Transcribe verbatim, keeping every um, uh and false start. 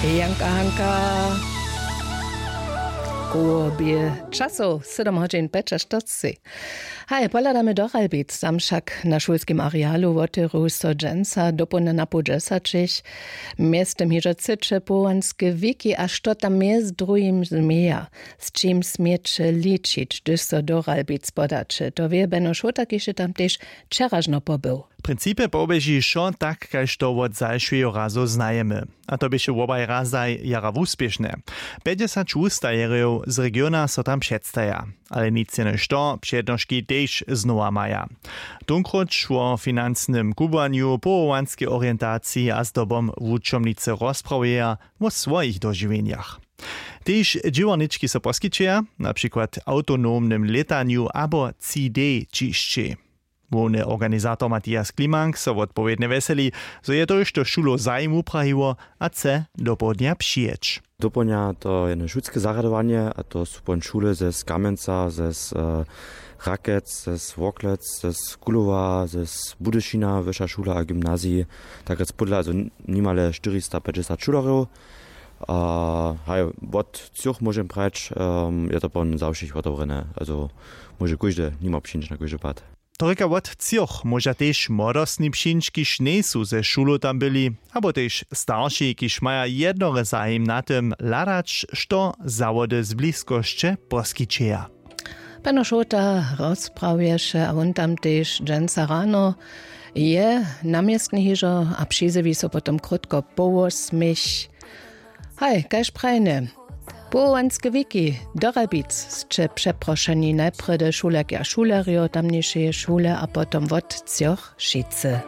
Janka Hanka. Koło bě časow sedom hodźin pjećaštyrceći. Haj, pohladamy do Ralbic, tam wšak na šulskim arealu wotewru so dźensa dopołdnja na poł dźesaćich. Mjeztym hižo třeće powołanske wiki, a što tam mjez druhim změja, z čim směće ličić, hdyž so do Ralbic podaće, to wě Beno Šołta, kiž je tam tež wčeražno pobył. W principje poběži wšo tak, kaž to wot zašłeho razu znajemy. A to běše wobaj razaj jara wuspěšne. Pjećdźesać wustajerjow z regiona so tam předstaja. Ale nic jenož to, přednoški tež znowa maja. Tónkróć wo financnym kubłanju, powołanskeje orientaciji a zdobom wučomnicy rozprawjeja wo swojich dožiwjenjach. Tež dźěłarnički so poskićeja, na přikład w awtonomnym lětanju abo C D ćišćej. Hłowny organizator Matthias Klimank so wotpowědnje wjeseli, zo je to hišće šulow zajim wuprajiło a chce dopołdnja přijěć. Dopołdnja to je jedne šulske zarjadowanje, a to su pon šule ze Kamjenca, ze z, e, Rakec, ze z Worklec, ze z Kulowa, ze z Budyšina, wyša šula a gymnazij, tak rjec pódla, also n-, nimale štyristapećdźesat šulerjow. A haj, wot třoch, móžem prajić, em, je to pon za wšěch wotewrjene, also móže kóždy nimo přińć na kóždy pad. To rěka, wot třoch móža tež młodostni přińć, kiž njejsu ze šulow tam byli, abo tež starši, kiž maja jednore zajim na tym hladać, što zawody z bliskosće poskićeja. Pano Šołta rozprawješe a wón tam tež dźensa rano je na městnje hižo a přizjewi so potom krótko po wosmich. Haj, kaž prajne, powołanske wiki do Ralbic sće přeprošeni, najprjedy šulerki a šulerjo tamnišeje šule a potom wot třoch wšitcy.